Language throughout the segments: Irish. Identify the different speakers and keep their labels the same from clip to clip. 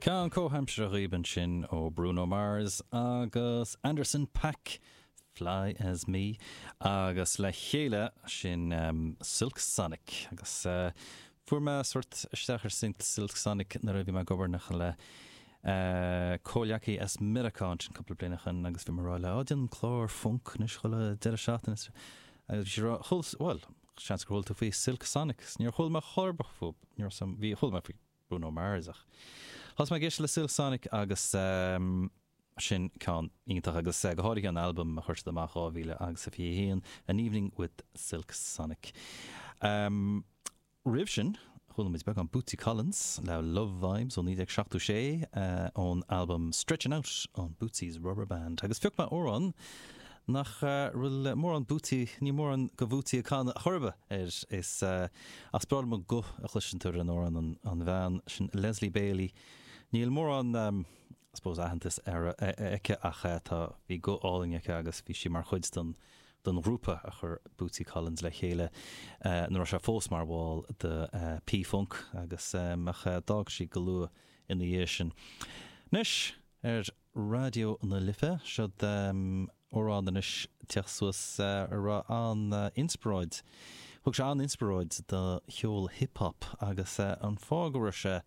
Speaker 1: Ceann comhaimseartha dhaoib ansin ó Bruno Mars agus Anderson .Paak, Fly As Me, agus le chéile sin Silk Sonic. Agus fuair mé sórt isteach ar Silk Sonic nuair a bhí mé ag obair nach le comhleacaí as Meiriceá ansin cúpla bliain ó shin agus bhí mé ag rá leo, á déanaim clár func anois chuile deireadh seachtaine agus bhí siad ag rá, chuala, bhuel, seans gur chuala tú faoi Silk Sonic, níor chuala mé chor ar bith fúthu, ní raibh, bhí, chuala mé faoi Bruno Mars ach thosaigh mé ag éisteacht le Silk Sonic agus sin ceann iontach agus go háirithe an albam a chuir siad amach 2021, An Evening with Silk Sonic. Roimh sin chuala muid beagán Bootsy Collins le Love Vibes ó 1976 ón albam Stretchin' Out on Bootsy's Rubber Band agus phioc mé amhrán nach bhfuil mórán Bootsy, níl mórán de Bhootsy ag canadh chor ar bith air. Is ach is breá liom an guth a chloiseann tú ar an amhrán, an bhean sin Leslie Bailey. Níl mórán I suppose aitheantas ar aici ach tá, bhí guth álainn aici agus bhí sí mar chuid den den ghrúpa a chuir Bootsy Collins le chéile nuair a raibh sé fós mar bhall de P-Funk agus ach d'fhág sí go luath ina dhiaidh sin. Anois ar Raidió na Life. Seod amhrán anois ag teacht suas a raibh an-inspioráid, thug sé an-inspioráid do cheol hip hop agus an fáth go raibh sé,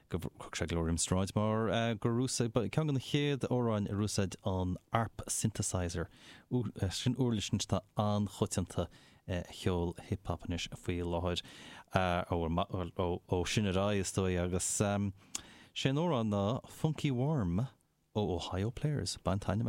Speaker 1: go thug sé go leor inspioráid mar gur úsáid, ba ceann de na chéad amhráin ar úsáid an ARP synthesizer, sin uirlis anois atá an-choitianta i cheol hip hop anois faoi láthair, ó sin ar aghaidh is dóigh agus sé an amhrán ná Funky Worm ó Ohio Players. Bain taitneamh as.